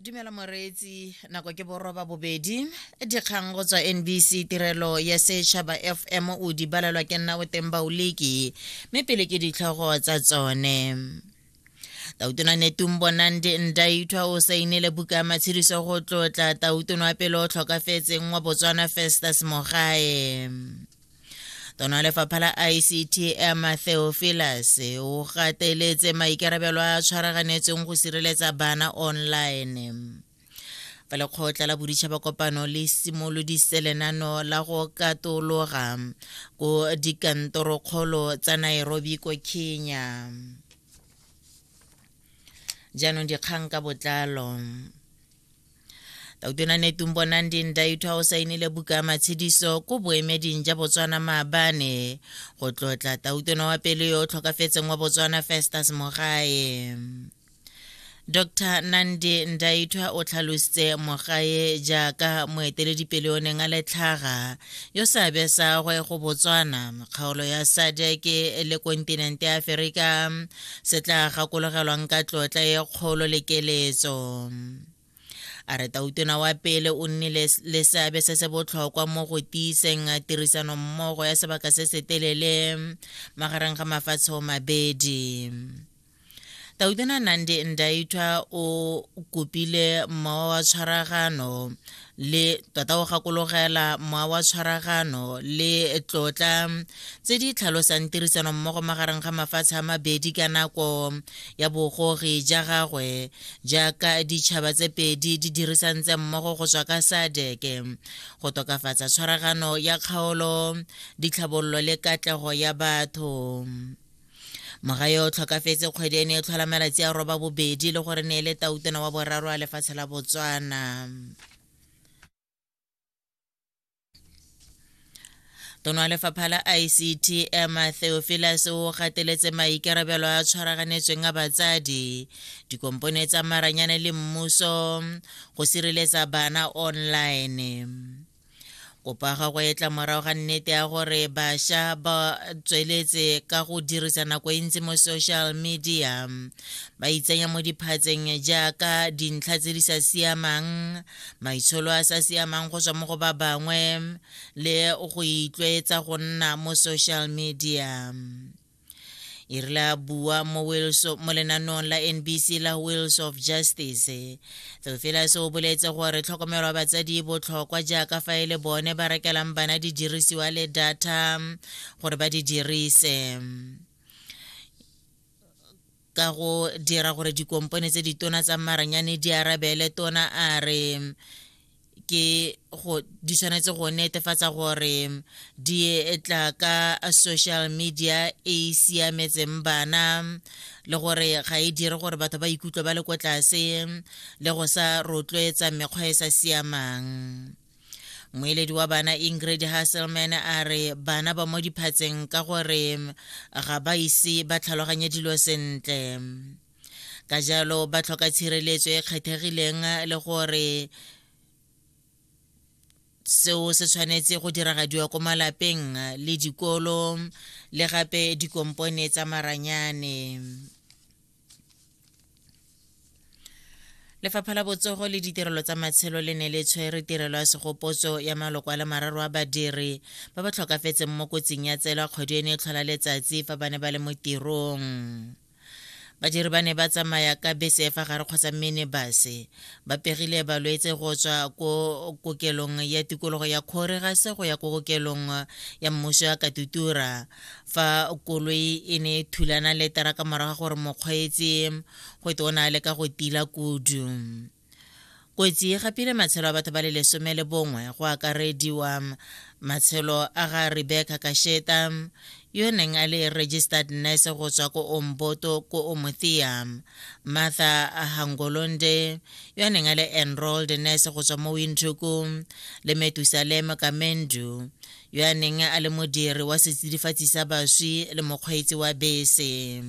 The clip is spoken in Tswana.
Dumela moreetsi, nako ke boroba bobedi. Dikgang go tswa NBC tirelo ya setšhaba FM o di balelwa ke nna o teng Bauliki, mme pele ke ditlhogo tsa tsone. Tautona Netumbo Nandi Ndaitwah o sainile buka ya matshediso go tlotla tautona wa pele o tlhokafetseng wa Botswana Festus Mogae. Tona wa lefapha la ICT Emma Theophilus o gateletse maikarabelo a tshwaraganetsweng go sireletsa bana online. Fa lekgotla la boditšhaba kopano le simolodise lenano la go katologa ko dikantorokgolo tsa Nairobi ko Kenya. Jaanong dikgang ka botlalo. Tautona Netumbo Nandi Ndaitwah o sainile buka ya matshediso ko boemeding ja Botswana maabane go tlotla tautona wa pele yo o tlhokafetseng wa Botswana Festus Mogae. Dr. Nandi Ndaitwah o tlhalositse Mogae jaaka moeteledipele o neng a le tlhaga yo seabe sa gwe go Botswana, kgaolo ya SADC le kontinente ya Aferika se tla gakologelwang ka tlotla e kgolo le keletso. A re tautona wa pele o nnile le seabe se se botlhokwa mo go tiiseng tirisanommogo ya sebaka se se telele magareng ga mafatshe o mabedi. Tautona Nandi Ndaitwah o kopile mowa wa tshwaragano le tota o gakologela mowa wa tshwaragano le tlotla tse di tlhalosang tirisano mmogo magareng ga mafatshe a mabedi ka nako ya bogogi ja gagwe jaaka ditšhaba tse pedi di dirisantse mmogo go tswa ka SADC go tokafatsa tshwaragano ya kgaolo, ditlhabololo le katlego ya batho. Mogae o tlhokafetse kgwedi ene e tlhola malatsi a roba bobedi le gore ne e le tautona wa boraro a lefatshe la Botswana. Tona wa lefapha la ICT Emma Theophilus o gateletse maikarabelo a tshwaraganetsweng a batsadi, dikompone tsa maranyane le mmuso go sireletsa bana online. Kopo ya gagwe e tla morago ga nnete ya gore bašwa ba tsweletse ka go dirisa nako e ntsi mo social media, ba itsenya mo diphatseng jaaka dintlha tse di sa siamang, maitsholo a sa siamang go tswa mo go ba bangwe le go itlwaetsa go nna mo social media. E rile a bua mo Wheels mo lenaneong la NBC la Wheels of Justice, Theophilus o boletse gore tlhokomelo ya batsadi e botlhokwa jaaka fa e le bone ba rekelang bana didirisiwa le data gore ba di dirise ka go dira gore dikompone tse ditona tsa maranyane di arabele. Tona a re ke go di tshwanetse go netefatsa gore di tla ka social media e e siametseng bana le gore ga e dire gore batho ba ikutlwe ba le ko tlase le go sa rotloetsa mekgwa e sa siamang. Moeledi wa bana Ingrid Hasselman a re bana ba mo diphatseng ka gore ga ba ise ba tlhaloganye dilo sentle, ka jalo ba tlhoka tshireletso e kgethegileng le gore seo se tshwanetse go diragadiwa ko malapeng le dikolo le gape dikompone tsa maranyane. Lefapha la Botsogo le Ditirelo tsa Matshelo le ne le tshwere tirelo ya segopotso ya maloko a le mararo a badiri ba ba tlhokafetseng mo kotsing ya tsela kgwedi eno e tlhola letsatsi fa ba ne ba le mo tirong. Badiri ba ne ba tsamaya ka bese fa gare kgotsa minibus ba pegile balwetse go tswa ko kokelong ya tikologo ya Khorigase go ya ko kokelong ya mmuso ya Katutura fa koloi e ne e thulana le teraka morago ga gore mokgweetsi go te o ne a leka go tila kudu. Kotsi e gapile matshelo a batho ba le 11 go akarediwa matshelo a ga Rebecca Kasheta yo neng a le registered nurse go tswa ko Omboto ko Omuthiya, Martha Hangolonde yo neng a le enrolled nurse go tswa mo Windhoek le Metusalem Kamendu yo a neng a le modiri wa setsidifatsi sa baswi le mokgweetsi wa bese.